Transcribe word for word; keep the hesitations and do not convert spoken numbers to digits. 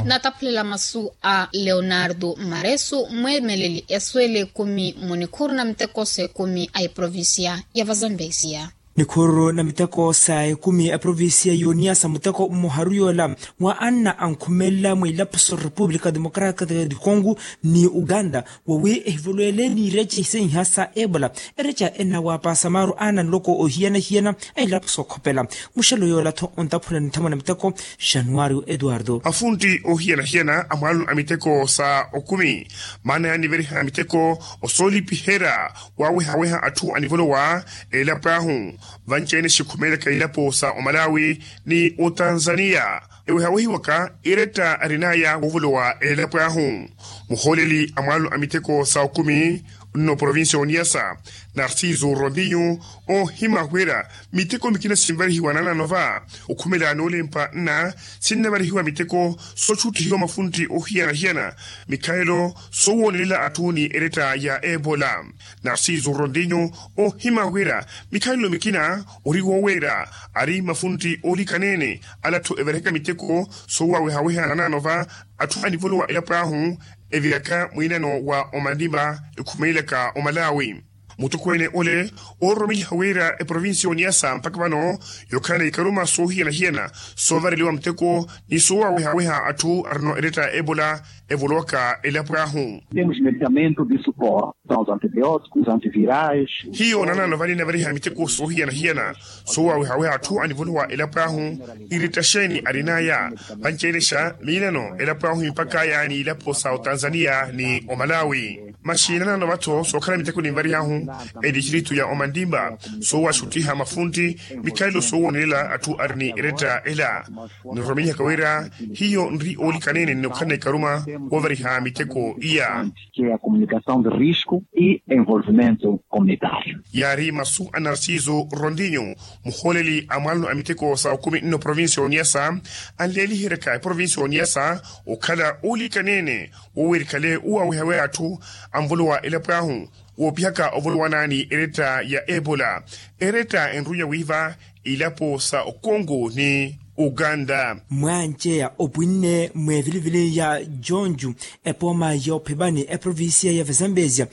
Nataphulela masu a leonardo maresu mweemeleli esweele ekumi mu nikhuru na miteko s'ekumi a eprovincia ya vazambezia. Nikhuru na miteko sa ekumi a eprovincia y'oniasa muteko mmoharu yoola wa anna ankhumelela mwilapuso repupulika democratika di congo ni uganda wawi ehivolwele niireca isenha sa ebola. Ereca enawapasa maru ana nloko ohiyana-hiyana a ilapo sookhopela. Muxelo yoola-tho ontaphula nithamo na miteko. Januario eduardo. Afuntti ohiyana-hiyana a mwaalunu a miteko sa okumi maana yaaniveriha miteko osoolipiherya waaweha-weha atthu anivolowa elapo ahu. Vanci-ene xikhumeelaka ilapo sa omalawi ni otanzania. Eweha wehiwaka eretta arinaya woovolowa elapo ahu. Muhooleli a mwaalunu a miteko sa okumi nno provincia oniyasa narciso rondinho oohimahwera miteko mikina sinvarihiwa nanano va okhumela noolempa nna sinnavarihiwa miteko soxuttihiwa mafuntti ohiyana-hiyana mikhalelo sowoonelela atthu ni eretta ya ebola. Narciso rondinho oohimahwera mikhalelo mikina ori wooweera ari mafuntti oolikaneene. Ala atthu evarihaka miteko soowawehaweha nanano va atthu anivolowa elapo ahu eviraka mwiinano wa omanima ekhumeelaka omalawi. Mutokweene ole oororomeliha wira eprovincia oniyasa mpakha vano yookhala na ikaruma soohiyana-hiyana soovareliwa muteko ni soowawehaweha atthu arino eretta ya ebola evolowaka elapo ahu. Temos medicamento de suporte são os antibioticos antivirais. Hiyo nanano vani navariha miteko soohiyana-hiyana soowawehaweha atthu anivolowa elapo ahu. Iretta xeeni arinaya vanci-ene xa miinano elapo ahu impakaya ni ilapo sa otanzania ni omalawi. Masi nanano vatho sookhala miteko ninvarihahu edistritto ya omandimba soowaxuttiha mafuntti mikhalelo soowoonelela atthu ari ni eretta ela. Niroromihaka wira hiyo nri oolikaneene nnookhala na ikaruma woovariha miteko iya. Ke a comunicação de risco e envolvimento comunitário. Yaari masu a narciso rondinho muhooleli a mwaalano a miteko sa okumi nno provincia oniyasa anleeliheryaka eprovincia oniyasa okhala oolikaneene woowerikhale owawehaweha atthu anvolowa elapo ahu woopihaka ovolowana ni eretta ya ebola. Eretta enrunya wiiva ilapo sa okongo ni uganda. Mwanceya opwinne mweevilivili ya jonju epooma yoophipani eprovincia ya vazambezia.